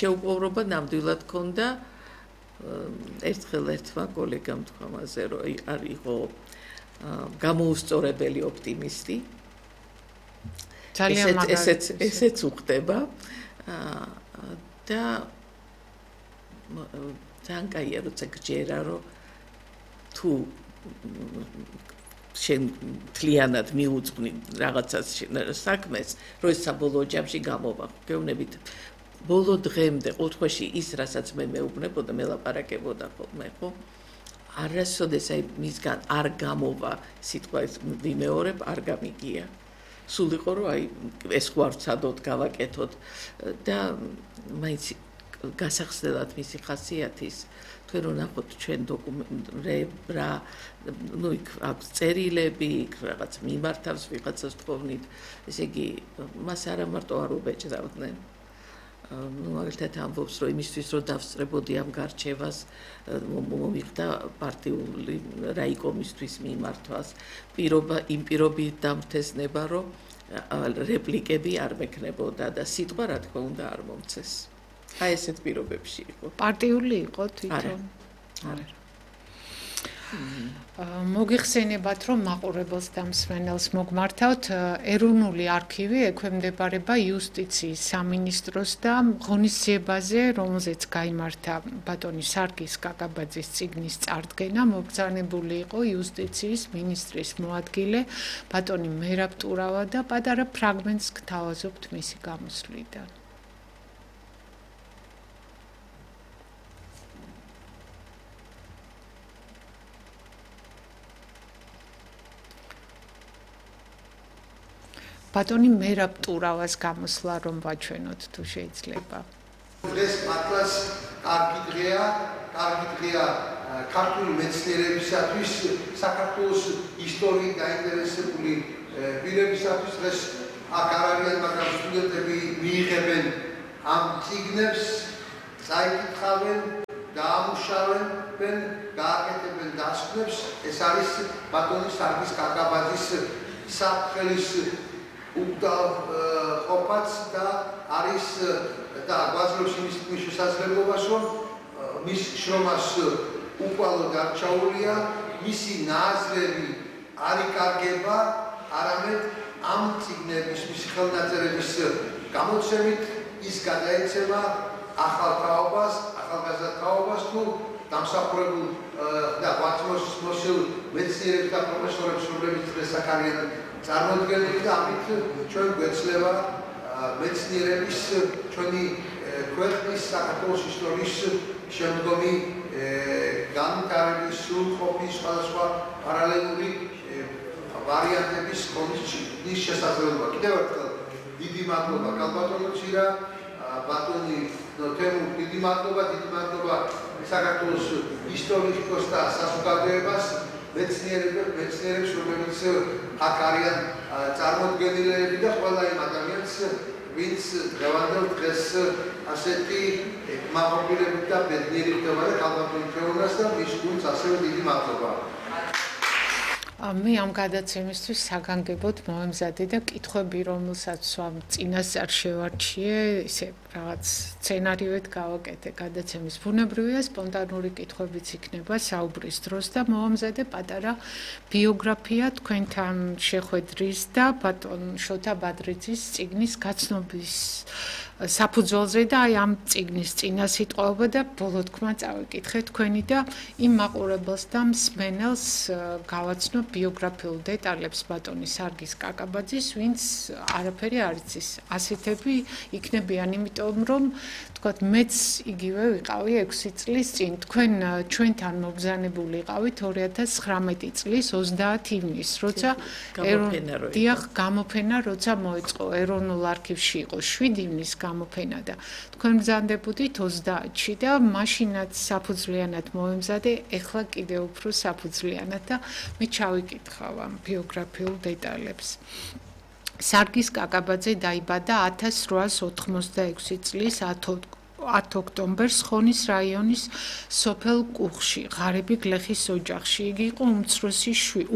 შეუპოვრობა ნამდვილად ჰქონდა ერთხელ ერთმა კოლეგამ თქვა მასე რომ არ იყო გამოუსწორებელი ოპტიმისტი ძალიან მაგარი ესეც უხდება და ძალიან კაია როცა გჯერა რომ თუ შენ თლიანად მიუძღვნი რაღაცას საქმეს რომ ეს საბოლოო ჯამში გამოვა გეუბნებით ბოლო დღემდე ყოველთვის ის რასაც მე მეუბნებოდა მელაპარაკებოდა ხოლმე ხო არასოდეს აი მისგან არ გამოვა სიტყვა ეს ვიმეორებ არ გამიგია სულ იყო რომ აი ეს გვარცადოთ გავაკეთოთ და მაინც გასახსნელად მისი ხასიათის თქვენ რომ ნახოთ ჩვენ დოკუმენტები ნუ იქ აქვს წერილები იქ რაღაც მიმართავს ვიღაცას თქოვნით ესე იგი მას არა მარტო არ უბეჭდავდნენ ну მაგალითად ამბობს რომ იმისთვის რომ დავსწრებოდი ამ გარჩევას მომიხდა პარტიული რაიკომისთვის მიმართვას იმ პირობით დამთესნება რომ რეპლიკები არ მექნებოდა და სიტყვა რა თქმა უნდა არ მომცეს აი ესეთ პირობებში იყო პარტიული იყო თვითონ არა მოგიხსენებათ რომ მაყურებელს და მსმენელს მოგმართავთ ეროვნული არქივი ექვემდებარება იუსტიციის სამინისტროს და ღონისძიებაზე რომელზეც გაიმართა ბატონი სარგის კაკაბაძის წიგნის წარდგენა მობრძანებული იყო იუსტიციის მინისტრის მოადგილე ბატონი მერაბ ტურავა და პატარა ფრაგმენტს გთავაზობთ მისი გამოსვლიდან ბატონი მერაბ ტურავას გამოსვლა რომ ვაჩვენოთ თუ შეიძლება. დღეს მართლაც კარგი დღეა ქართული მეცნიერებისათვის საქართველოს ისტორიით დაინტერესებული პირებისათვის დღეს აქ არ არიან მაგრამ სტუდენტები მიიღებენ ამ წიგნებს წაიკითხავენ დაამუშავენ გააკეთებენ დასკვნებს ეს არის ბატონი სარგის კაკაბაძის საფრთხელის ყოფაც და არის და გვაძლევს იმის შესაძლებლობას რომ მის შრომას უკვალოდ არ ჩაურია მისი ნაზრები არ იკარგება არამედ ამ წიგნების მისი ხელნაწერების გამოცემით ის გადაეცემა ახალ თაობას თუ დამსახურებულ და ღვაწლმოსილ მეცნიერებს და პროფესორებს რომლებიც დღეს აქ არიან წარმოდგენილი და ამით ჩვენ გვეცლება მეცნიერების ჩვენი ქვეყნის საქართველოს ისტორიის შემდგომი განვითარების სრულყოფის სხვადასხვა პარალელური ვარიანტების ხონის შესაძლებლობა. კიდევ ერთხელ დიდი მადლობა კალბატონო ცირა ბატონი თემურ დიდი მადლობა საქართველოს ისტორიკოს და საზოგადოებას მეცნიერებს რომლებიც აქ არიან წარმოდგენილები და ყველა იმ ადამიანს ვინც დღევანდელ დღეს ასეთი მაღობილებით და ბედნიერი ხდება და კალბატონი თეონას და მის გუნდს ასევე დიდი მადლობა. მე ამ გადაცემისთვის საგანგებოდ მომემზადე და კითხვები რომელსაც წინასწარ შევარჩიე ისე რაღაც სცენარიოეთ გავაკეთე გადაცემის ბუნებრივია სპონტანური კითხვებიც იქნება საუბრის დროს და მომემზადე პატარა ბიოგრაფია თქვენთან შეხვედრის და ბატონ შოთა ბადრიძის წიგნის გაცნობის საფუძველზე და აი ამ წიგნის წინა სიტყვაობა და ბოლო თქმა წავიკითხე თქვენი და იმ მაყურებელს და მსმენელს გავაცნო ბიოგრაფიულ დეტალებს ბატონი სარგის კაკაბაძის ვინც არაფერი არ იცის ასეთები იქნებიან იმიტომ რომ თქვათ მეც იგივე ვიყავი 6 წლის წინ თქვენ ჩვენთან მობრძანებული იყავით 2019 წლის 30 ივნისს როცა გამოფენა როცა მოეწყო ეროვნულ არქივში იყო 7 ივნისს გამოფენა და თქვენ ბრძანდებოდით 30-ში და მაშინაც საფუძვლიანად მოემზადე ეხლა კიდევ უფრო საფუძვლიანად და მე ჩავიკითხავ ამ ბიოგრაფიულ დეტალებს. სარგის კაკაბაძე დაიბადა 1886 წლის 10 ოქტომბერს ხონის რაიონის სოფელ კუხში, ღარიბი გლეხის ოჯახში. იგი იყო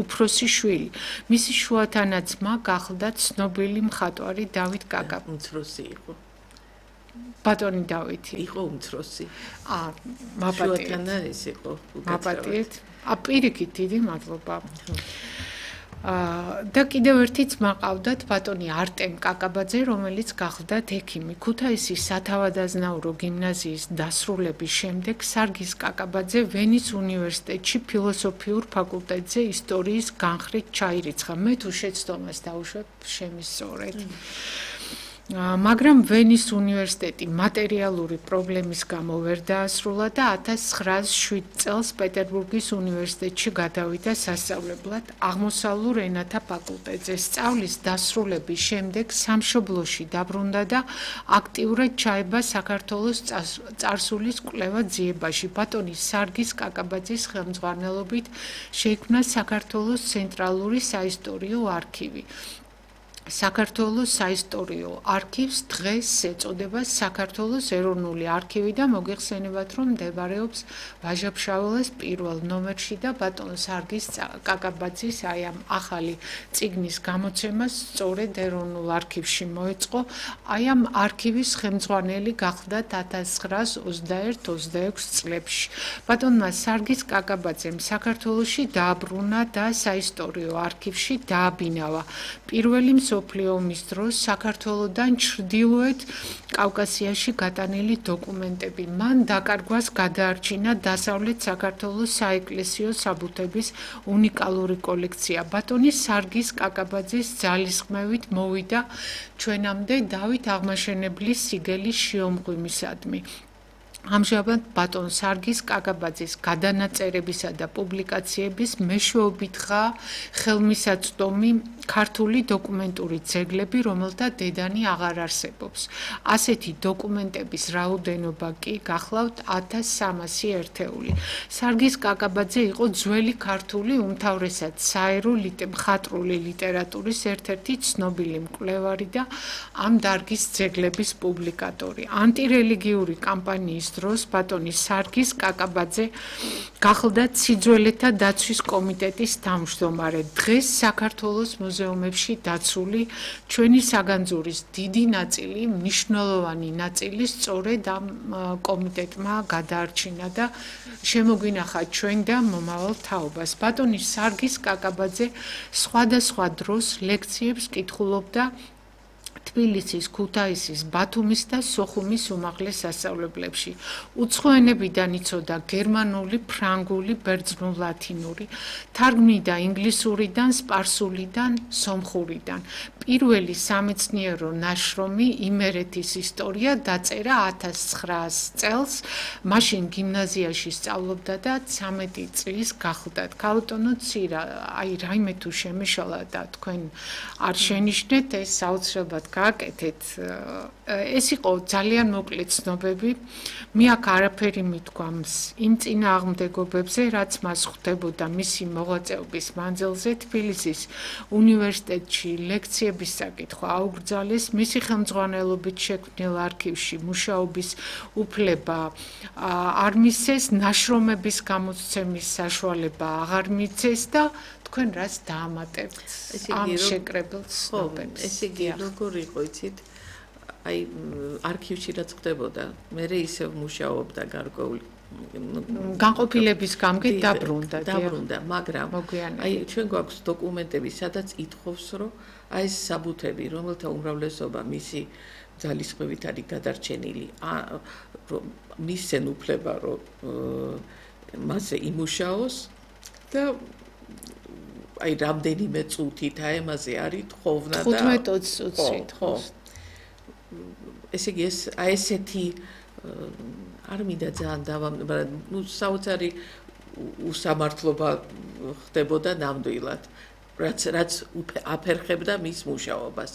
უფროსი შვილი. მისი შუათანა ძმა გახლდა ცნობილი მხატვარი დავით კაკაბაძე. უმცროსი იყო. ბატონი დავითი. იყო უმცროსი. მაპატიეთ. შუათანა ეს იყო. მაპატიეთ. პირიქით დიდი მადლობა. და კიდევ ერთიც მაყავდათ ბატონი არტემ კაკაბაძე, რომელიც გახლდათ ექიმი. ქუთაისის სათავადაზნაურო გიმნაზიის დასრულების შემდეგ სარგის კაკაბაძე ვენის უნივერსიტეტში ფილოსოფიურ ფაკულტეტზე ისტორიის განხრით ჩაირიცხა. მე თუ შეცდომას დავუშვებ, შემისწორეთ. მაგრამ ვენის უნივერსიტეტი მატერიალური პრობლემის გამო ვერ დაასრულა და 1907 წელს პეტერბურგის უნივერსიტეტში გადავიდა სასწავლებლად აღმოსავლურ ენათა ფაკულტეტზე. სწავლის დასრულების შემდეგ სამშობლოში დაბრუნდა და აქტიურად ჩაება საქართველოს წარსულის კვლევა ძიებაში. ბატონი სარგის კაკაბაძის ხელმძღვანელობით შეიქმნა საქართველოს ცენტრალური საისტორიო არქივი. საქართველოს საისტორიო არქივს დღეს ეწოდება საქართველოს ეროვნული არქივი და მოგეხსენებათ, რომ მდებარეობს ვაჟა-ფშაველას პირველ ნომერში და ბატონ სარგის კაკაბაძის აი ამ ახალი წიგნის გამოცემას სწორედ ეროვნულ არქივში მოეწყო. აი ამ არქივის ხელმძღვანელი გახლდათ 1921-26 წლებში. ბატონმა სარგის კაკაბაძემ საქართველოში დააბრუნა და საისტორიო არქივში დააბინავა პირველი მსოფლიო ომის დროს საქართველოდან ჩრდილოეთ კავკასიაში გატანილი დოკუმენტები. მან დაკარგვას გადაარჩინა დასავლეთ საქართველოს საეკლესიო საბუთების უნიკალური კოლექცია. ბატონი სარგის კაკაბაძის ძალისხმევით მოვიდა ჩვენამდე დავით აღმაშენებლის სიგელის შიომღვიმისადმი. ამჟამად ბატონ სარგის კაკაბაძის გადანაწერებისა და პუბლიკაციების მეშვეობითაა ხელმისაწვდომი ქართული დოკუმენტური ძეგლები, რომელთა დედანი აღარ არსებობს. ასეთი დოკუმენტების რაოდენობა კი გახლავთ 1300 ერთეული. სარგის კაკაბაძე იყო ძველი ქართული, უმთავრესად საერო მხატვრული ლიტერატურის ერთ-ერთი ცნობილი მკვლევარი და ამ დარგის ძეგლების პუბლიკატორი. ანტირელიგიური კამპანიის დროს ბატონი სარგის კაკაბაძე გახლდათ სიძველეთა დაცვის კომიტეტის თავმჯდომარე. დღეს საქართველოს მუზეუმებში დაცული ჩვენი საგანძურის დიდი ნაწილი, მნიშვნელოვანი ნაწილი სწორედ ამ კომიტეტმა გადაარჩინა და შემოგვინახა ჩვენ და მომავალ თაობას. ბატონი სარგის კაკაბაძე სხვადასხვა დროს ლექციებს კითხულობდა თბილისის, ქუთაისის, ბათუმის და სოხუმის უმაღლეს სასწავლებლებში. უცხო ენებიდან იცოდა გერმანული, ფრანგული, ბერძნულ-ლათინური, თარგმნიდა ინგლისურიდან, სპარსულიდან, სომხურიდან. პირველი სამეცნიერო ნაშრომი იმერეთის ისტორია დაწერა 1900 წელს. მაშინ გიმნაზიაში სწავლობდა და 13 წლის გახლდათ. ქალბატონო ცირა, აი რაიმე თუ შემეშალა და თქვენ არ შენიშნეთ, ეს საოცრებად გააკეთეთ. ეს იყო ძალიან მოკლე ცნობები. მე აქ არაფერი მithქვამს იმ წინააღმდეგობებზე, რაც მას ხვდებოდა მისი მოღვაწეობის მანძილზე. თბილისის უნივერსიტეტში ლექციების საკითხვა აუგრძალეს. მისი ხელმძღვანელობით შექმნილ არქივში მუშაობის უფლება არ მისცეს, ნაშრომების გამოცემის საშუალება აღარ მიცეს და თქვენ რას დაამატებთ ამ შეკრებილ ცნობებს? ესე იგი, როგორ იყო, იცით? აი, არქივში რაც ხდებოდა, მე ისევ მუშაობდა გარკვეული განყოფილების გამგე დაბრუნდა, მაგრამ აი ჩვენ გვაქვს დოკუმენტები, სადაც ითხოვს, რომ აი ეს საბუთები, რომელთა უმრავლესობა მისი ძალისხმევით არის გადარჩენილი, მისცენ უფლება, რომ მასზე იმუშაოს და აი რამდენიმე წუთით აემაზე არის თხოვნა და 15-20 წუთით. ხო. ესე იგი ეს აი ესეთი არ მინდა ძალიან მაგრამ ნუ საოცარი უსამართლობა ხდებოდა ნამდვილად. რაც აფერხებდა მის მუშაობას.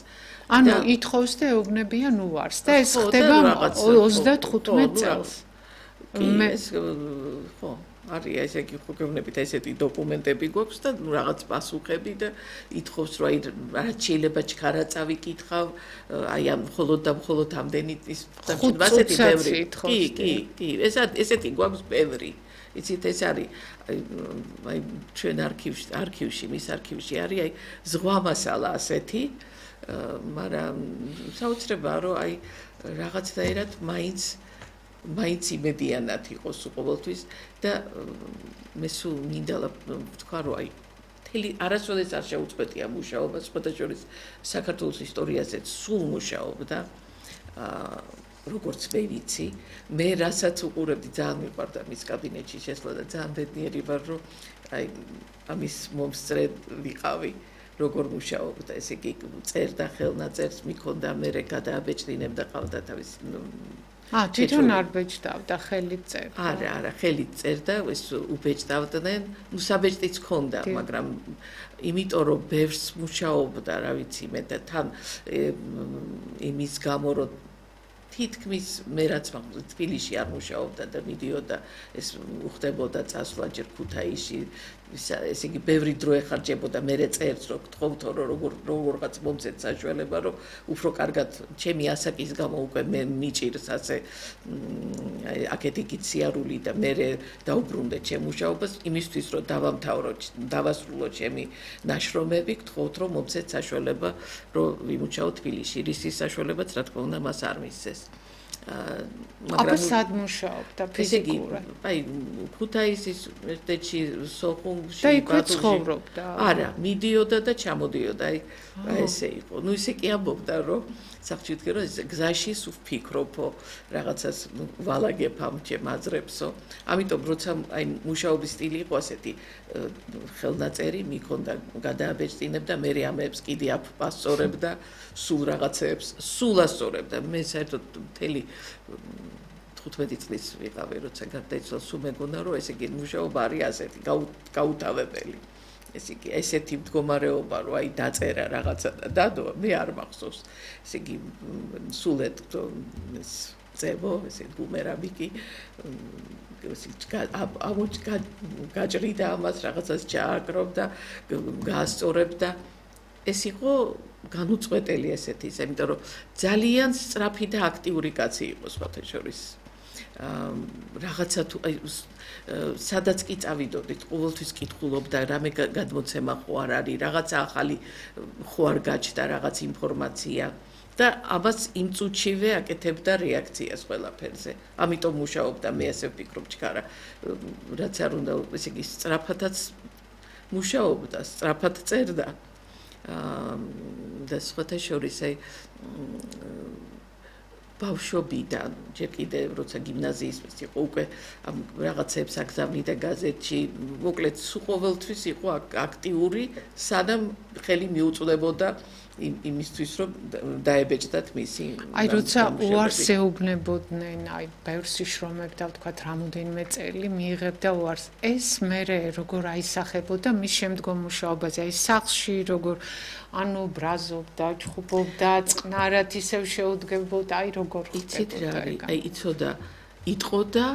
ანუ ითხოვს და ეუბნებიან უარს და ეს ხდება 35 წელს. მე ხო არის ესე იგი ხო გეუბნებით ესეთი დოკუმენტები გვაქვს და რაღაც პასუხები და ითხოვს რომ აი რაც შეიძლება ჩქარა წავიკითხავ აი ამ მხოლოდ ამდენი ის ასეთი ბევრი კი ესეთი გვაქვს ბევრი იცით ეს არის აი ჩვენ არქივში მის არქივში არის აი ზღვა მასალა ასეთი მაგრამ საოცრებაა რომ აი რაღაცნაირად მაინც იმედიანად იყოს ყოველთვის და მე სულ მინდა ვთქვა რომ აი მთელი არასოდეს არ შეუწყვეტია მუშაობა სხვადასხვა საქართველოს ისტორიაზეც სულ მუშაობდა როგორც მე ვიცი მე რასაც უყურებდი ძალიან მიყვარდა მის კაბინეტში შესვლა და ძალიან ბედნიერი ვარ რომ აი ამის მომსწრე ვიყავი როგორ მუშაობდა ესე იგი წერდა ხელნაწერს მიქონდა მე გადააბეჭდინებდა ყავდა თავის თვითონ არ ბეჭდავდა ხელით წერდა არა ხელით წერდა ეს უბეჭდავდნენ საბეჭდიც ჰქონდა მაგრამ იმიტომ რომ ბევრს მუშაობდა რა ვიცი მე და თან იმის გამო რომ თითქმის მე რაც თბილისში არ მუშაობდა და მიდიოდა ეს უხდებოდა წასვლა ჯერ ქუთაისში ესე იგი ბევრი დრო ეხარჯებოდა მე წერს რომ გთხოვთო რომ როგორღაც მომცეთ საშუალება რომ უფრო კარგად ჩემი ასაკის გამო უკვე მე მიჭირს ასე აქეთი კიციარული და მე დაუბრუნდე ჩემ მუშაობას იმისთვის რომ დავასრულო ჩემი ნაშრომები გთხოვთ რომ მომცეთ საშუალება რომ ვიმუშაო თბილისში რისის საშუალებაც რა თქმა უნდა მას არ მისცეს მაგრამ სად მუშაობდა ფიზიკურად? აი ქუთაისის ერთში სოხუმში და იქვე ცხოვრობდა. არა, მიდიოდა და ჩამოდიოდა, აი ესე იყო. ნუ ისე კი ამბობდა, რომ სახში ვთქე, რომ გზაში სულ ვფიქრობო, რაღაცას ვალაგებ ამ ჩემ აზრებსო. ამიტომ როცა აი მუშაობის სტილი იყო ასეთი ხელნაწერი, მიქონდა გადააბეჭდინებდა, მე ამებს კიდე აფასწორებდა, სულ რაღაცებს, სულ ასწორებდა. მე საერთოდ მთელი 15 წლის ვიყავი, როცა გარდაიცვალა, სულ მეგონა, რომ ესე იგი მუშაობა არის ასეთი გაუთავებელი. ესე იგი ესეთი მდგომარეობა, რომ აი დაწერა რაღაცა და დადო, მე არ მახსოვს. ესე იგი სულეთ ეს წებო, ესე ბუმერანგი კი გაჭრიდა ამას რაღაცას ჩააკრობდა, გაასწორებდა. ეს იყო განუწყვეტელი ესეთი, იმიტომ რომ ძალიან სწრაფი და აქტიური კაცი იყო სხვათა შორის. რაღაცა თუ აი სადაც კი წავიდოდით, ყოველთვის კითხულობდა, რამე გადმოცემა ხო არ არის, რაღაცა ახალი ხო არ გაჩნდა, რაღაც ინფორმაცია და ამას იმ წუთშივე აკეთებდა რეაქციას ყველაფერზე. ამიტომ მუშაობდა, მე ასე ვფიქრობ, ჩქარა, რაც არ უნდა, ესე იგი სწრაფადაც მუშაობდა, სწრაფად წერდა. და სხვათა შორის აი ბავშვობიდან ჯერ კიდე როცა გიმნაზიის იყო უკვე ამ რაღაცებს აგზავნიდა გაზეთში მოკლედ სულ ყოველთვის იყო აქტიური სანამ ხელი მიუწვდებოდა იმისთვის რომ დაებეჭდათ მისი აი როცა უარს ეუბნებოდნენ აი ბევრს შრომებდა ვთქვათ რამოდენიმე წელი მიიღებდა უარს ეს მერე როგორ აისახებოდა მის შემდგომ მუშაობაზე აი სახლში როგორ ანუ ბრაზობდა ჩხუბობდა წყნარად ისევ შეუდგებოდა აი როგორ იცით რა არის აი იცოდა იტყოდა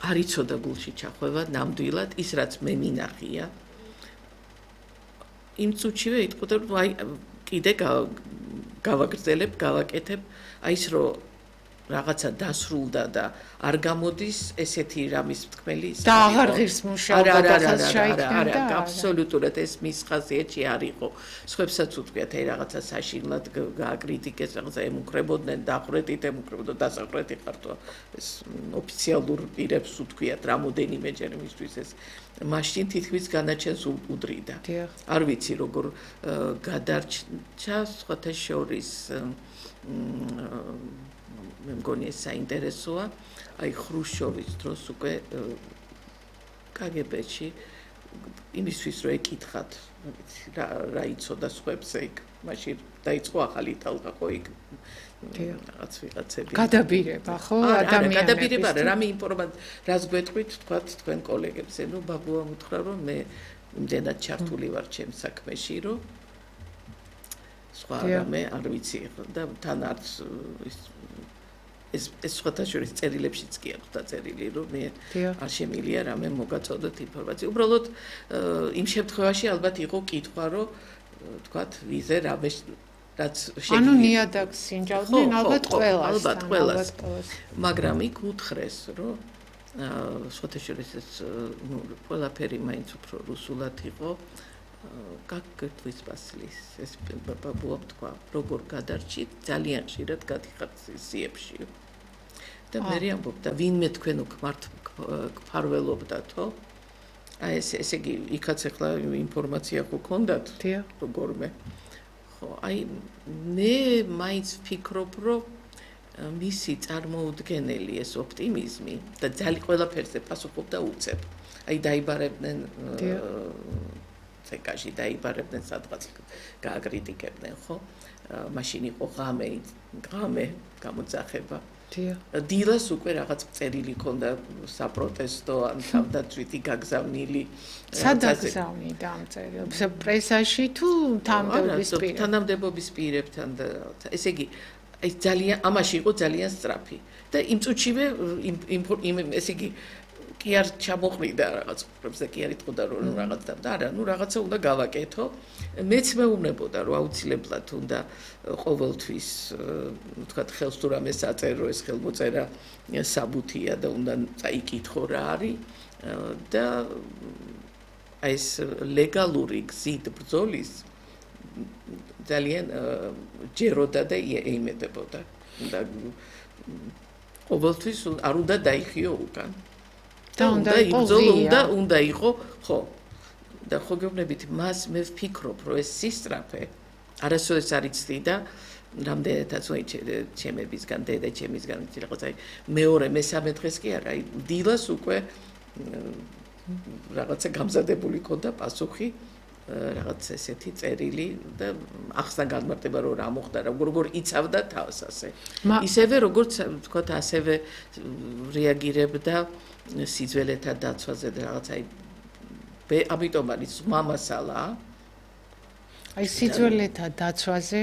არ იცოდა გულში ჩახვევა ნამდვილად ის რაც მე მინახია იმ წუთშივე იტყოდა რომ აი კიდე გავაგრძელებ, გავაკეთებ, აი ის რომ რაღაცა დასრულდა და არ გამოდის ესეთი რამის თქმელი და აღარ ღირს მუშაობა და ხალხს შეიქმნა. არა, აბსოლუტურად ეს მის ხასიათში არ იყო. სხვებსაც უთქვიათ, აი რაღაცა საშინლად გააკრიტიკეს, რაღაცა ემუქრებოდნენ, დახრეტით ემუქრებოდო, დასახრეთი ხართო. ეს ოფიციალურ პირებს უთქვიათ რამოდენიმეჯერ იმისთვის ეს მაშინ თითქმის განაჩენს უდრიდა. არ ვიცი როგორ გადარჩა სხვათა შორის მე მგონი ეს საინტერესოა აი ხრუშჩოვის დროს უკვე კგბ-ში იმისთვის რომ ეკითხათ რა იცოდა სხვებზე იქ მაშინ დაიწყო ახალი ტალღა ხო იქ რაღაც ვიღაცები გადაბირება ხო ადამიანები გადაბირება რამე ინფორმაცია რას გვეტყვით თქვათ თქვენ კოლეგებზე ნუ ბაბუა მუთხრა რომ მე იმდენად ჩართული ვარ ჩემ საქმეში რომ სხვა რამე არ ვიცი და თან არც ეს სხვათა შორის წერილებშიც კი აქვს დაწერილი რომ მე არ შემილია რამე მოგაწოდოთ ინფორმაცია. უბრალოდ იმ შემთხვევაში ალბათ იყო კითხვა რომ თქვათ ვიზე რამე რაც შეგვიძლია. ანუ ნიადაგს სინჯავდნენ ალბათ ყველას. მაგრამ იქ უთხრეს რომ სხვათა შორის ეს ყველაფერი მაინც უფრო რუსულად იყო გაგგრთვის ბასილის ეს ბაბუა თქვა როგორ გადარჩით ძალიან ხშირად გადიხართ სიებში და მე ამბობდა ვინმე თქვენ გფარველობდათო აი ესე იგი იქაც ახლა ინფორმაცია ხო გქონდათ როგორმე ხო აი მე მაინც ვფიქრობ რომ მისი წარმოუდგენელი ეს ოპტიმიზმი და ძალიან ყველაფერზე პასუხობდა უცებ აი დაიბარებდნენ წეკაში დაიბარებდნენ სადღაც გააკრიტიკებდნენ ხო მაშინ იყო ღამე გამოძახება დილას უკვე რაღაც წერილი ქონდა საპროტესტო ან თავდაცვითი გაგზავნილი სადაგზავნიდა ამ წერილს პრესაში თუ თანამდებობის პირებთან და ესე იგი აი ძალიან ამაში იყო ძალიან სწრაფი და იმ წუთშივე ესე იგი კი არ ჩამოყრიდა რაღაც პრობლემებს და კი არ იტყოდა რომ რაღაც და არა ნუ რაღაცა უნდა გავაკეთო მეც მეუბნებოდა რომ აუცილებლად უნდა ყოველთვის თქვა ხელს თუ რამე საწერო ეს ხელმოწერა საბუთია და უნდა წაიკითხო რა არის და აი ეს ლეგალური გზით ბრძოლის ძალიან ჯეროდა და ეიმედებოდა და ყოველთვის არ უნდა დაიხიო უკან და უნდა იყო ხო და ხო გეუბნებით მას მე ვფიქრობ რომ ეს სისწრაფე არასოდეს არ იცდი და რამდენადაც ჩემებისგან დედა ჩემისგან რაღაც აი მეორე მესამე დღეს კი არა აი დილას უკვე რაღაცა გამზადებული ქონდა პასუხი რაღაც ესეთი წერილი და ახსნა განმარტება რომ რა მოხდა როგორ იცავდა თავს ასე ისევე როგორც თქვა ასევე რეაგირებდა სიძველეთა დაცვაზე და რაღაც აი ამიტომ არის მამასალა აი სიძველეთა დაცვაზე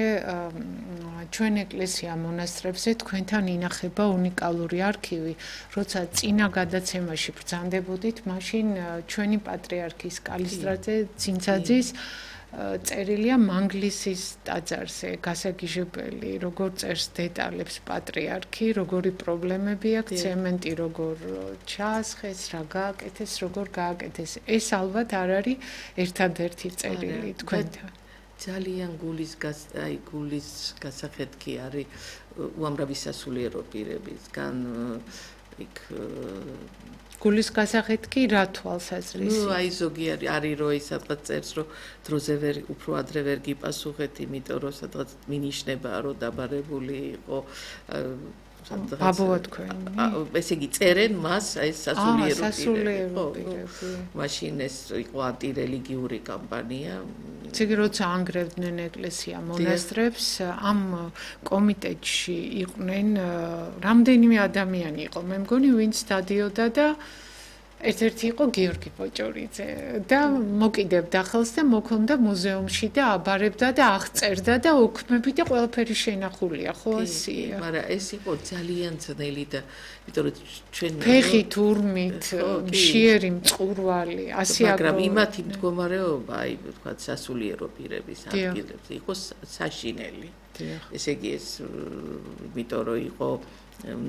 ჩვენ ეკლესია მონასტრებზე თქვენთან ინახება უნიკალური არქივი როცა წინა გადაცემაში ბრძანდებოდით მაშინ ჩვენი პატრიარქის კალისტრატე ცინცაძის წერილია მანგლისის ტაძარზე გასაგიჟებელი როგორ წერს დეტალებს პატრიარქი როგორი პრობლემები აქვს ცემენტი როგორ ჩაასხეს რა გააკეთეს როგორ გააკეთეს ეს ალბათ არ არის ერთადერთი წერილი თქვენთან ძალიან გულის გასახედი არის უამრავი სასულიერო პირებისგან იქ გულის გასახედი რა თვალსაზრისი ნუ აი ზოგი არის რომ ის სადღაც წერს რომ დროზე ვერ უფრო ადრე ვერ გიპასუხეთ იმიტომ რომ სადღაც მინიშნებაა რომ დაბარებული იყო ბაბუა თქვენი ესე იგი წერენ მას აი სასულიერო პირები მაშინ ეს იყო ანტირელიგიური კამპანია ციგ როცა ანგრევდნენ ეკლესია მონასტრებს ამ კომიტეტში იყვნენ რამდენიმე ადამიანი იყო მე მგონი ვინც დადიოდა და ერთ-ერთი იყო გიორგი ბოჭორიძე და მოკიდებდა ხელს და მოქონდა მუზეუმში და აბარებდა და აღწერდა და ოქმები და ყველაფერი შენახულია ხო ასია მაგრამ ეს იყო ძალიან ძნელი და იმიტომ რომ ჩვენ ფეხით ურმით მშიერი მწყურვალი ასე მაგრამ იმათი მდგომარეობა აი თქვა სასულიერო პირების ადგილებზე იყო საშინელი ესე იგი ეს იმიტომ რომ იყო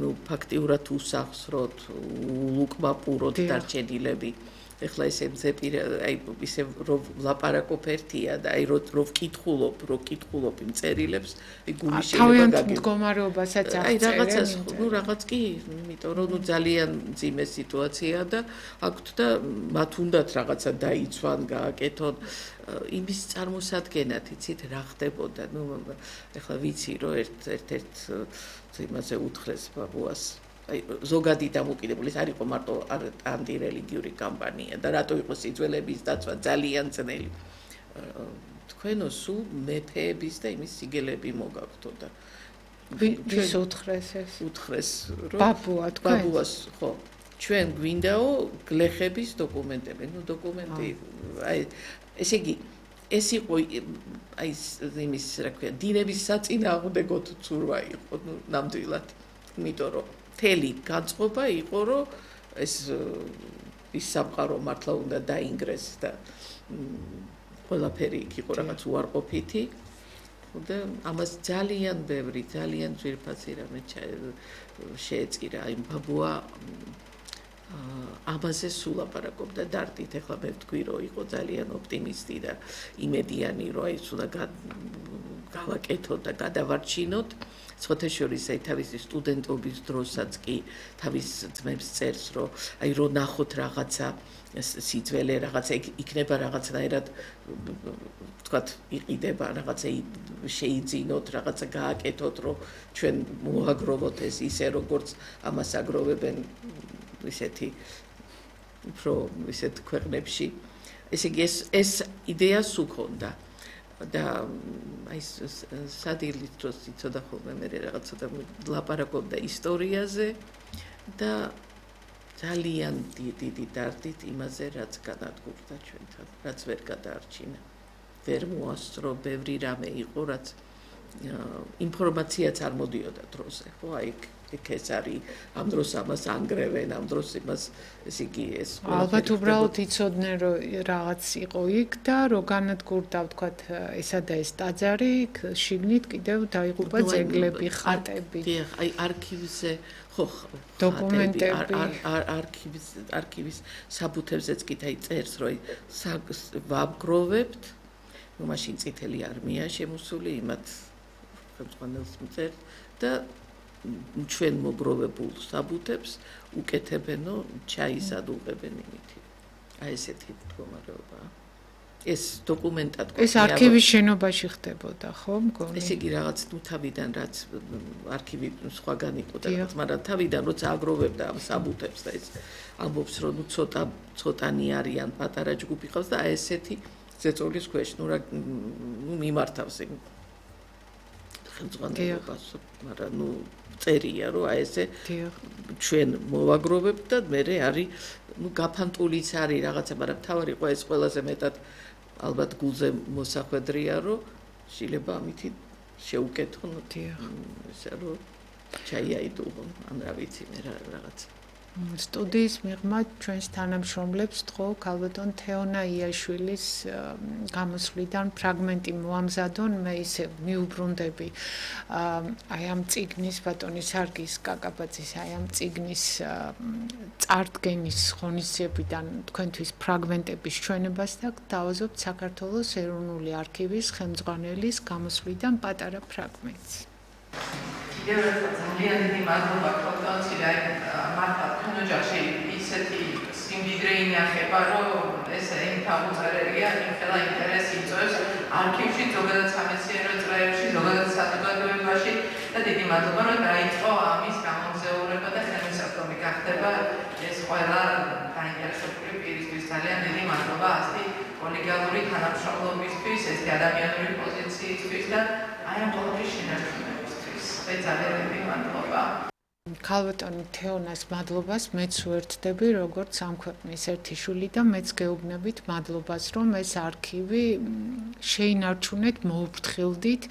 ну фактიურად უსახსროთ ულუკმაპუროთ დარჩენილები ეხლა ესე მზეპირა აი ისე რომ ლაპარაკობ ერთია და აი რო ვკითხულობ იმ წერილებს აი გული შეიძლება გაგიგო მდგომარეობასაც აღწერენ აი რაღაცას ну რაღაც კი იმიტომ რომ ნუ ძალიან ძიმე სიტუაცია და აქვთ და მათ უნდათ რაღაცა დაიცვან გააკეთონ იმის წარმოსადგენად იცით რა ხდებოდა ну ეხლა ვიცი რომ ერთ იმაზე უთხრეს ბაბუას აი ზოგადი დამოკიდებული არ იყო მარტო ანტირელიგიური კამპანია და რატო იყო სიძველების დაცვა ძალიან ძნელი თქვენო სულ მეფეების და იმის სიგელები მოგაქვთო და ვის უთხრეს ეს უთხრეს რომ ბაბუას ხო ჩვენ გვინდაო გლეხების დოკუმენტები ну დოკუმენტი აი ესე იგი ეს იყო აი იმის რა ქვია დინების საწინააღმდეგო ცურვა იყო ну ნამდვილად იმიტომ რომ თელი განწყობა იყო რომ ეს სამყარო მართლა უნდა დაინგრეს და ყველაფერი იქ იყო რაღაც უარყოფითი და ამას ძალიან ბევრი ძალიან ძვირფასი რამე შეეწირა იმ ბაბუა ამაზე სულ ლაპარაკობდა დარტით, ეხლა მე ვთქვი, რომ იყო ძალიან ოპტიმისტი და იმედიანი, რომ აი უნდა გავაკეთოთ და გადავარჩინოთ. სხვათაშორის აი თავისი სტუდენტობის დროსაც კი თავის ძმებს წერს, რომ აი რომ ნახოთ რაღაცა სიძველე, რაღაცა იქნება რაღაცნაირად ვთქვათ, იყიდება რაღაცა შეიძინოთ, რაღაცა გააკეთოთ, რომ ჩვენ მოაგროვოთ ეს ისე როგორც ამას აგროვებენ ისეთი უფრო ისეთ ქვეყნებში. ესე იგი ეს იდეა სუქონდა და აი სადილის დროს იცოდა ხოლმე მე რაღაცა და ლაპარაკობდა ისტორიაზე და ძალიან დიდი დარდით იმაზე, რაც განადგურდა ჩვენთან, რაც ვერ გადაარჩინა. ვერ მოასწრო, ბევრი რამე იყო, რაც ინფორმაციაც არ მოდიოდა დროზე, ხო, აი იქ ეს არის, ამ დროს ამას ანგრევენ, ამ დროს იმას, ესე იგი ეს ალბათ უბრალოდ იცოდნენ, რომ რაღაც იყო იქ და რო განადგურდა, ვთქვათ, ესა და ეს ტაძარი, შიგნით კიდევ დაიღუპა ძეგლები, ხატები. დიახ, აი არქივზე ხო დოკუმენტები, არქივის საბუთებზეც კი წერს, რომ ვაბგროვებთ, ну მაშინ წითელი არმია შემოსული იმათ ხელმძღვანელს მწერს და ჩვენ მოგროვებულ საბუთებს უკეთებენო ჩაისად უღებენ იმითი. აი ესეთი მდგომარეობაა. ეს დოკუმენტად ეს არქივის შენობაში ხდებოდა, ხო, მგონი? ესე იგი რაღაც ნუ თავიდან რაც არქივი სხვაგან იყო და რაღაც, მაგრამ თავიდან როცა აგროვებდა ამ საბუთებს და ეს ამბობს, რომ ნუ ცოტანი არიან, პატარა ჯგუფი ყავს და აი ესეთი ზეწოლის ქვეშ, ნუ მიმართავს იმ ხელმძღვანელობას, მაგრამ ნუ წერია, რომ აი ესე ჩვენ მოვაგროვებთ და მე არის, ნუ გაფანტულიც არის რაღაცა, მაგრამ თავარი ყო ეს ყველაზე მეტად ალბათ გულზე მოსახვედრია, რომ შეიძლება ამითი შეუკეთონ, ესე რომ ჩაიაიდუღონ, ან რა ვიცი მე რაღაც. სტუდიის მიღმა ჩვენს თანამშრომლებს თქო ქალბატონ თეონა იაშვილის გამოსვლიდან ფრაგმენტი მოამზადონ, მე ისე მიუბრუნდები აი ამ წიგნის ბატონი სარგის კაკაბაძის აი ამ წიგნის წარდგენის ღონისძიებიდან თქვენთვის ფრაგმენტების ჩვენებას და დავაზობთ საქართველოს ეროვნული არქივის ხელმძღვანელის გამოსვლიდან პატარა ფრაგმენტს. ძალიან დიდი მადლობა ქალბატონს, მართლა თქვენ ოჯახში ისეთი სიმდიდრე ინახება, რომ ეს ინფორმაცია იმხელა ინტერესი იწვევს არქივში, ზოგადად სამეცნიერო წრეებში, ზოგადად საზოგადოებაში და დიდი მადლობა, რომ დაიწყო ამის გამოგზაურება და ხელმისაწვდომი გახდება ეს ყველა დაინტერესებული პირისთვის. ძალიან დიდი მადლობა ასეთი კოლეგიალური თანამშრომლობისთვის, ესეთი ადამიანური პოზიციისთვის და აი ამ ყოველთვის შენარჩუნებისთვის. ძალიან დიდი მადლობა. ქალბატონ თეონას მადლობას მეც უერთდები, როგორც ამ ქვეყნის ერთი შვილი და მეც გეუბნებით მადლობას, რომ ეს არქივი შეინარჩუნეთ, მოუფრთხილდით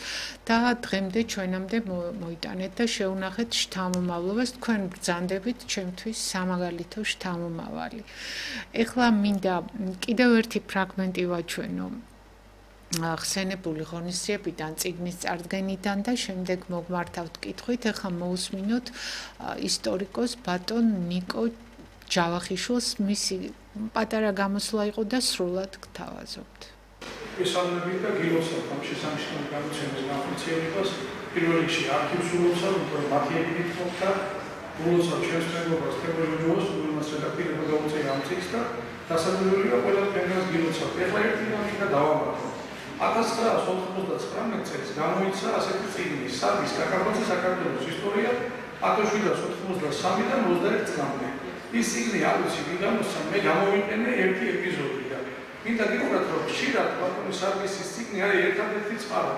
და დღემდე ჩვენამდე მოიტანეთ და შეუნახეთ შთამომავლობას. თქვენ ბრძანდებით ჩემთვის სამაგალითო შთამომავალი. ეხლა მინდა კიდევ ერთი ფრაგმენტი ვაჩვენო. ხსენებული ღონისძიებიდან, წიგნის წარდგენიდან და შემდეგ მოგმართავთ კითხვით, ახლა მოусმინოთ ისტორიკოს ბატონ ნიკო ჯავახიშვილს, მისი პატარა გამოსვლა იყო და სრულად გთავაზობთ. ესალმებით და გილოცავთ ამ შესანიშნავი გამოცემის განხორციელებას. პირველ რიგში არქივს ულოცავ, მათი ეგიდით მოხდა, ულოცავ ჩვენს მეგობრებს თებერვალს, რომელმაც რედაქტირება გაუწია ამ წიგნს და დასაკვირველია ყველა თქვენგანს გილოცავთ. ეხლა ერთი მინუტა დავამატო. 1999 წელს გამოიცა ასეთი წიგნი სარგის კაკაბაძის საქართველოს ისტორია 1793-დან 21 წლამდე. ის წიგნი არ ვიცი ვინ გამოსცა, მე გამოვიყენე ერთი ეპიზოდი და მინდა გითხრათ, რომ ხშირად ბატონი სარგისის წიგნი არის ერთადერთი წყარო.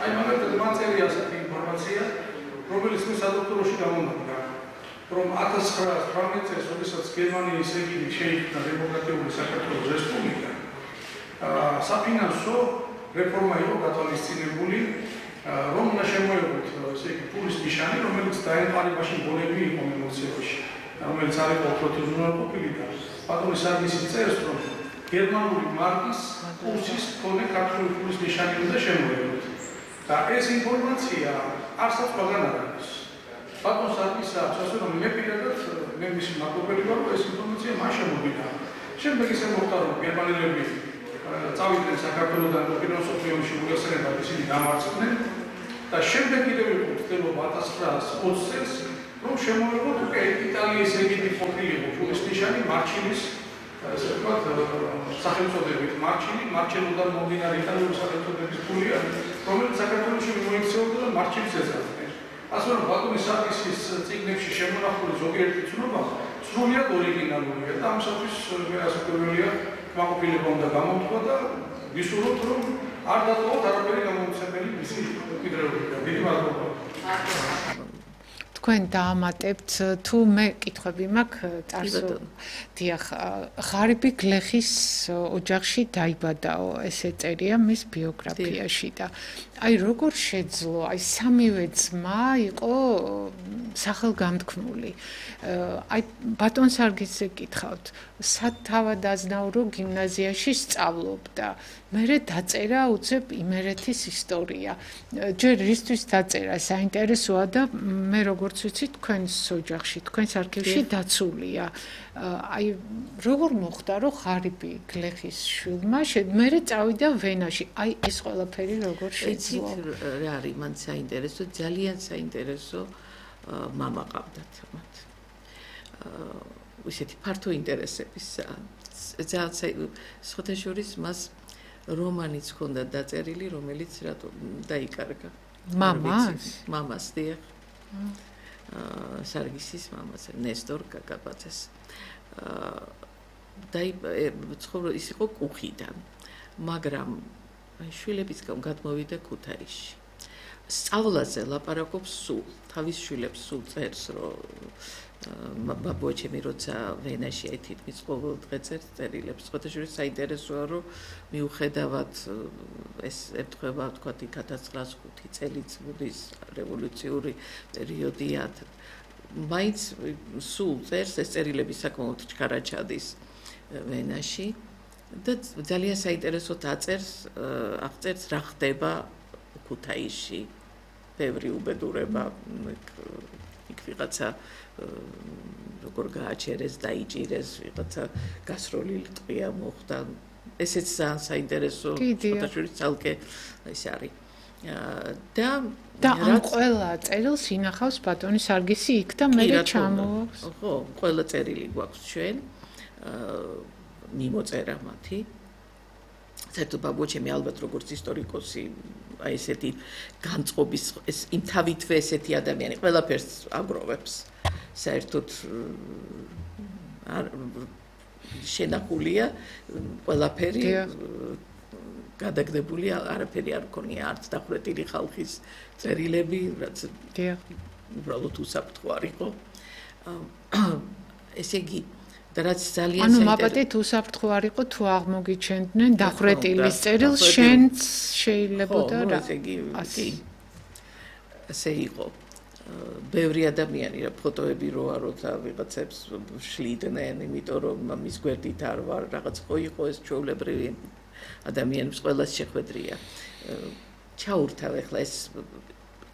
აი მაგალითად მაწერია ასეთი ინფორმაცია, რომელიც მე სადოქტოროში გამომადგა, რომ 1918 წელს, როდესაც გერმანიის რეგიმი შეიქმნა დემოკრატიული საქართველოს რესპუბლიკა, საფინანსო რეფორმა იყო გათვალისწინებული, რომ უნდა შემოეღოთ ესე იგი ფულის ნიშანი, რომელიც დაემყარებაში ბოლები იყო მიმოქცევაში, რომელიც არ იყო პროტეზუნარყოფილი და ბატონი სარგისი წერს, რომ გერმანული მარკის კურსის მქონე ქართული ფულის ნიშანი უნდა შემოეღოთ. და ეს ინფორმაცია არცაც ყველგან არ არის. ბატონ სარგისა ასე რომ მე პირადად მე მისი მმართველი ვარ, ეს ინფორმაცია მან შემოვიდა. შემდეგ ისე მოხდა რომ გერმანელები წავიდნენ საქართველოსთან პირველ მსოფლიო ომში მოიხსენებათ ისინი დამარცხდნენ და შემდეგ კიდევ იყო ცდილობა 1920 წელს რომ შემოეღოთ უკვე იტალიის ეგეთი ყოფილიყო ფულის ნიშანი მარჩილის ასე ვთქვათ სახელწოდებით მარჩელოდან მომდინარე იტალიური სახელწოდების ფულია რომელიც საქართველოში მოიქცეოდა და მარჩილის ეძახდნენ ასე რომ ბატონი სარგისის წიგნებში შემონახული ზოგიერთი ცნობა სრულიად ორიგინალურია და ამისათვის მე ასე პირველია კმაყოფილება უნდა გამოთქვა და ვისურვოთ რომ არ დატოვოთ არაფერი გამოუცემელი მისი მკვიდრეობიდან. დიდი მადლობა. თქვენ დაამატებთ თუ მე კითხვები მაქვს წარსულ დიახ ღარიბი გლეხის ოჯახში დაიბადაო ესე წერია მის ბიოგრაფიაში და აი როგორ შეძლო აი სამივე ძმა იყო სახელგამთქმული აი ბატონ სარგისზე კითხავთ სათავადაზნაურო გიმნაზიაში სწავლობდა მერე დაწერა უცებ იმერეთის ისტორია ჯერ რისთვის დაწერა საინტერესოა და მე როგორც ვიცი თქვენს ოჯახში თქვენს არქივში დაცულია აი როგორ მოხდა რომ ღარიბი გლეხის შვილმა მერე წავიდა ვენაში აი ეს ყველაფერი როგორ შეძლო რა არის მან საინტერესო ძალიან საინტერესო მამა ყავდათ მათ ისეთი ფართო ინტერესების ძალიან სხვადასხვა მას რომანიც ჰქონდა დაწერილი რომელიც რატო დაიკარგა მამას დიახ სარგისის მამას ნესტორ კაკაბაძეს ის იყო კუხიდან მაგრამ შვილების გადმოვიდა ქუთაისში სწავლაზე ლაპარაკობს სულ თავის შვილებს სულ წერს რომ ბაბუაჩემი როცა ვენაში აი თითქმის ყოველ დღე წერს წერილებს სხვადასხვა საინტერესოა რომ მიუხედავად ეს ეთქება თქვათ 1905 წელიწადის რევოლუციური პერიოდია მაინც სულ წერს ეს წერილები საკმაოდ ჩქარა ჩადის ვენაში და ძალიან საინტერესოდ აღწერს რა ხდება ქუთაისში ბევრი უბედურება იქ ვიღაცა როგორ გააჩერეს დაიჭირეს ვიღაცა გასროლილი ტყვია მოხდა ესეც ძალიან საინტერესო ფოტოშურის ცალკე ის არის და ამ ყველა წერილს ინახავს ბატონი სარგისი იქ და მე ჩამოვაქვს ხო ყველა წერილი გვაქვს ჩვენ მიმოწერა მათი საერთოდ ბაბუაჩემი ალბათ როგორც ისტორიკოსი აი ესეთი განწყობის ეს იმ თავითვე ესეთი ადამიანი ყველაფერს აგროვებს საერთოდ შენახულია ყველაფერი გადაგდებული არაფერი არ ქონია არც დახვრეტილი ხალხის წერილები რაც უბრალოდ უსაფრთხო იყო ესე იგი და რაც ძალიან ანუ მაპატით უსაფრთხო არ იყო თუ აღმოგიჩენდნენ დახვრეტილი წერილს შენც შეიძლებოდა რა ასე იყო ბევრი ადამიანი რა ფოტოები როა როცა ვიღაცებს შლიდნენ იმიტომ რომ მის გვერდით არ ვარ რაღაც ხო იყო ეს ჩვეულებრივი ადამიანებს ყველას შეხვედრია ჩაურთავ ახლა ეს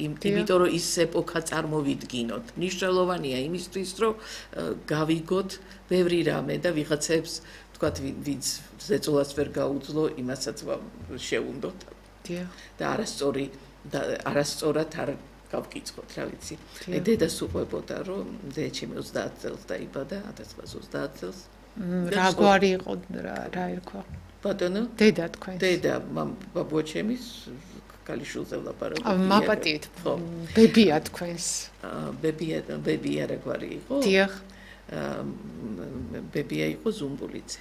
იმიტომ რომ ის ეპოქა წარმოვიდგინოთ მნიშვნელოვანია იმისთვის რომ გავიგოთ ბევრი რამე და ვიღაცებს თქვათ ვინც ზეწოლას ვერ გაუძლო იმასაც შეუნდოთ და არასწორად არ გავკიცხოთ რა ვიცი დედას უყვებოდა რომ დედაჩემი 30 წელს დაიბადა 1930 წელს რა გვარი იყო რა ერქვა ბატონო დედა თქვენ დედა ბაბუაჩემის კალიშულზე ვლაპარაკობ მაპატით ბებია თქვენს ბებია რა გვარი იყო დიახ ბებია იყო ზუმბულიძე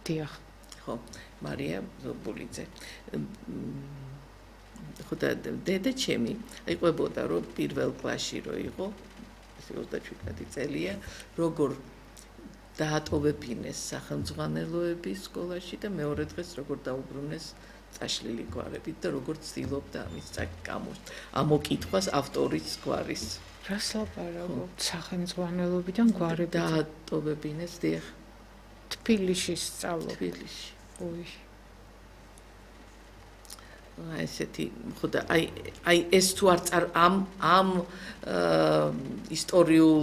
დიახ ხო მარია ზუმბულიძე ხო და დედაჩემი იყვებოდა რომ პირველ კლასში რო იყო 37 წელია როგორ დაატოვებინეს სახელმძღვანელოების სკოლაში და მეორე დღეს როგორ დაუბრუნეს წაშლილი გვარებით და როგორ ცდილობდა ამის ამოკითხვას ავტორის გვარის რას ლაპარაკობთ სახელმძღვანელობიდან გვარებით დაატოვებინეს დიახ თბილისში სწავლობ თბილისში ოი ესეთი ხოდა აი ეს თუ არ ამ ისტორიულ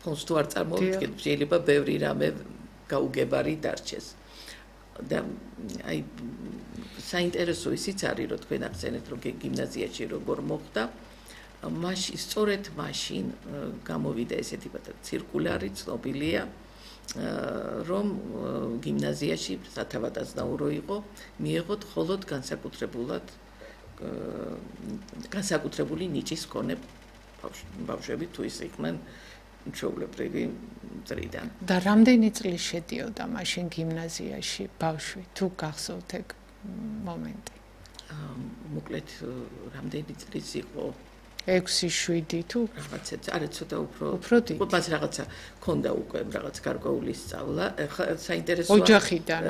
ფონს თუ არ წარმოვიდგენ, შეიძლება ბევრი რამე გაუგებარი დარჩეს. და აი საინტერესო ისიც არის, რომ თქვენ ახსენეთ, რომ გიმნაზიაში როგორ მოხდა, მაშინ სწორედ მაშინ გამოვიდა ესეთი ცირკულარი ცნობილია, რომ გიმნაზიაში სათავადაზნაურო იყო, მიეღოთ მხოლოდ განსაკუთრებული ნიჭის მქონე ბავშვები თუ ის იყვნენ ჩვეულებრივი მწრიდან. და რამდენი წლის შედიოდა მაშინ გიმნაზიაში ბავშვი, თუ გახსოვთ ეგ მომენტი? მოკლედ რამდენი წლის იყო? 6-7 თუ რაღაცა, არა ცოტა უფრო დიდი. მას რაღაცა ქონდა უკვე რაღაც გარკვეული სწავლა. საინტერესოა ოჯახიდან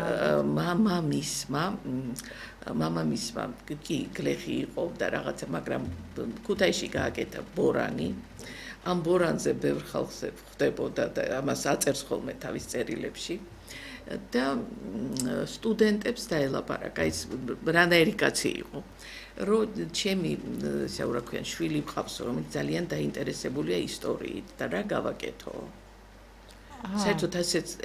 მამამისმა კი გლეხი იყო და რაღაცა, მაგრამ ქუთაისში გააკეთა ბორანი. ამ ბორანზე ბევრ ხალხს ხვდებოდა და ამას აწერს ხოლმე თავის წერილებში. და სტუდენტებს დაელაპარაკა, ის რანაირი კაცი იყო. რომ ჩემი ისე რა ქვია შვილი მყავს, რომელიც ძალიან დაინტერესებულია ისტორიით და რა გავაკეთო. საერთოდ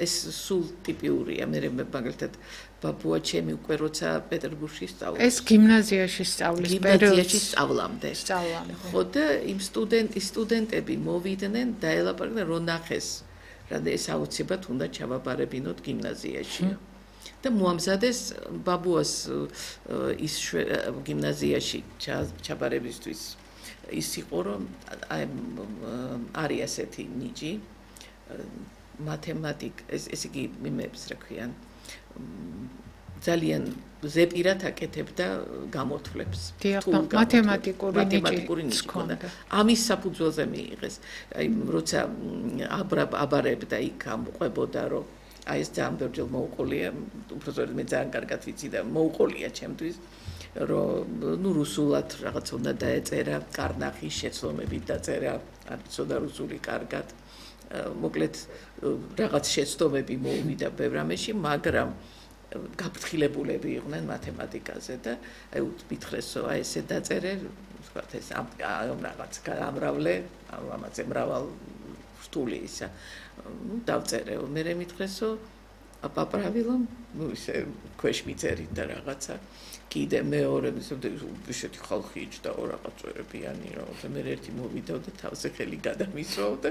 ეს სულ ტიპიურია, მე მაგალითად ბაბუა ჩემი უკვე როცა პეტერბურგში სწავლობდა. ეს გიმნაზიაში სწავლის გიმნაზიაში სწავლამდე. სწავლამდე. ხო და იმ სტუდენტები მოვიდნენ და ელაპარაკდნენ, რომ ნახეს, რა ეს აუცილებლად უნდა ჩავაბარებინოთ გიმნაზიაში. და მოამზადეს ბაბუას ის გიმნაზიაში ჩაბარებისთვის ის იყო, რომ არის ასეთი ნიჭი ეს იგი იმებს რა ქვიან ძალიან ზეპირად აკეთებდა გამოთვლებს. მათემატიკური ნიჭი ჰქონდა. ამის საფუძველზე მიიღეს. აი როცა აბარებდა იქ ამყვებოდა, რომ აი ეს ძალიან ბევრჯერ მოუყოლია, უბრალოდ მე ძალიან კარგად ვიცი და მოუყოლია ჩემთვის, რომ ნუ რუსულად რაღაც უნდა დაეწერა, კარნახის შეცდომებით დაწერა, არ ვიცოდა რუსული კარგად. მოკლედ რაღაც შეცდომები მოუვიდა ბევრ რამეში, მაგრამ გაფრთხილებულები იყვნენ მათემატიკაზე და აი მითხრესო, აი ესე დაწერე, ვთქვათ ეს რაღაც ამრავლე, ამაზე მრავალ რთული ისა. ну დავწერე, მე მითხრესო, აპაправილო, ну ისე ქვეშ მიწერით და რაღაცა. კიდე მეორე ისეთი ხალხი იჯდა რაღაც წვერებიანი, რომ მე ერთი მოვიდა და თავზე ხელი გადამისვა და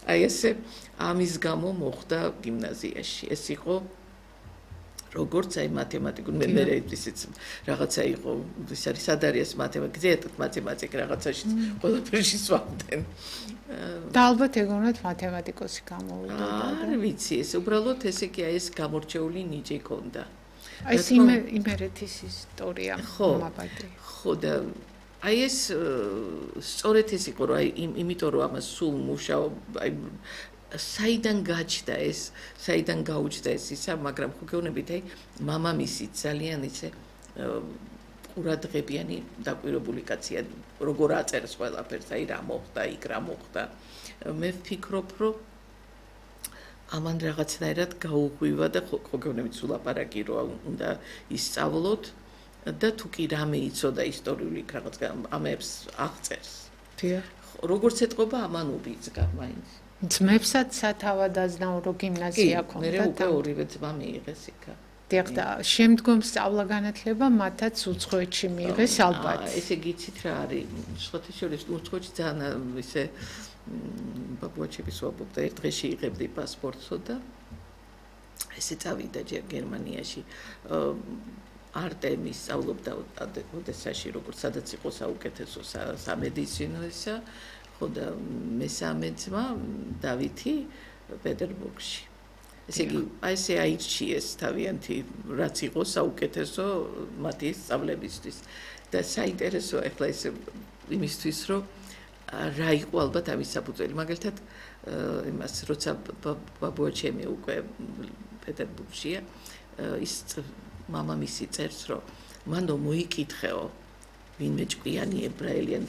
აი ესე ამის გამო მოხდა გიმნაზიაში. ეს იყო როგორც აი მათემატიკურ მე ისიც რაღაცა იყო, ის არის სად არის მათემატიკა, მათემატიკა რაღაცაში ყველაფერში swamden. და ალბათ ეგონათ მათემატიკოსი გამოვიდა. არ ვიცი, ეს უბრალოდ ესე კი აი ეს გამორჩეული ნიჭი ჰქონდა. აი ეს იმერეთის ისტორია მომაბადე. ხო და აი ეს სწორედ ეს იყო, რომ აი იმიტომ რომ ამას სულ მუშაობ, აი საიდან გაჩნდა ეს, საიდან გაუჩნდა ეს ისა, მაგრამ ხო გეუბნებით, აი მამამისი ძალიან ისე ყურადღებიანი დაკვირვებული კაცია, როგორ აწერს ყველაფერს, აი რა მოხდა, იქ რა მოხდა. მე ვფიქრობ, რომ ამან რაღაცნაირად გაუღვივა და ხო გეუბნებით სულ აპარაკი რომ უნდა ისწავლოთ და თუ კი რამე იცოდა ისტორიული რაღაც ამებს აღწერს. დიახ. როგორც ეთყობა ამან უბიძგა მაინც. ძმებსაც სათავადაზნაურო გიმნაზია ქონდათ. მე უკვე ორივე ძმა მიიღეს იქა. დიახ და შემდგომ სწავლა-განათლება მათაც უცხოეთში მიიღეს ალბათ. ესე გიცით რა არის, სხვათა შორის უცხოეთში ძალიან ისე ბაბუაჩები სვაბობდა, ერთ დღეში იღებდი პასპორტსო და ესე წავიდა ჯერ გერმანიაში. არტემის სწავლობდა ოდესაში, როგორც სადაც იყო საუკეთესო სამედიცინო ისა, ხო და მესამე ძმა დავითი პეტერბურგში. ესე იგი, აი ესე აირჩიეს თავიანთი, რაც იყო საუკეთესო მათი სწავლებისთვის. და საინტერესო ახლა ეს იმისთვის, რომ რა იყო ალბათ ამის საფუძველი. მაგალითად, იმას როცა ბაბუაჩემი უკვე პეტერბურგშია, ის მამამისი წერს, რომ მანდო მოიკითხეო, ვინმე ჭკვიანი ებრაელიანი,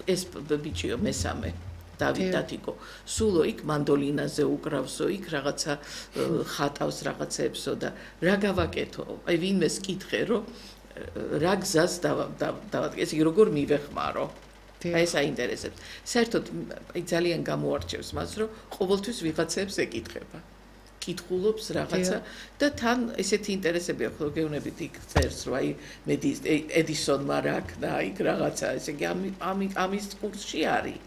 ეს ბიჭიო მესამე დავითათიკო. სულო იქ მანდოლინაზე უკრავსო, იქ რაღაცა ხატავს რაღაცეებსო და რა გავაკეთო? აი ვინმეს კითხე, რომ რა გზას დავადგე, ესე იგი როგორ მივეხმარო. აი ეს აინტერესებს. საერთოდ აი ძალიან გამოარჩევს მას, რომ ყოველთვის ვიღაცებს ეკითხება. კითხულობს რაღაცა და თან ესეთი ინტერესებია ხო გეუბნებით იქ წერს რომ აი ედისონმა რა ქნა იქ რაღაცა ესე იგი ამის კურსში არის.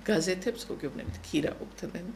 გაზეთებს ხო გეუბნებით ქირაობდნენ.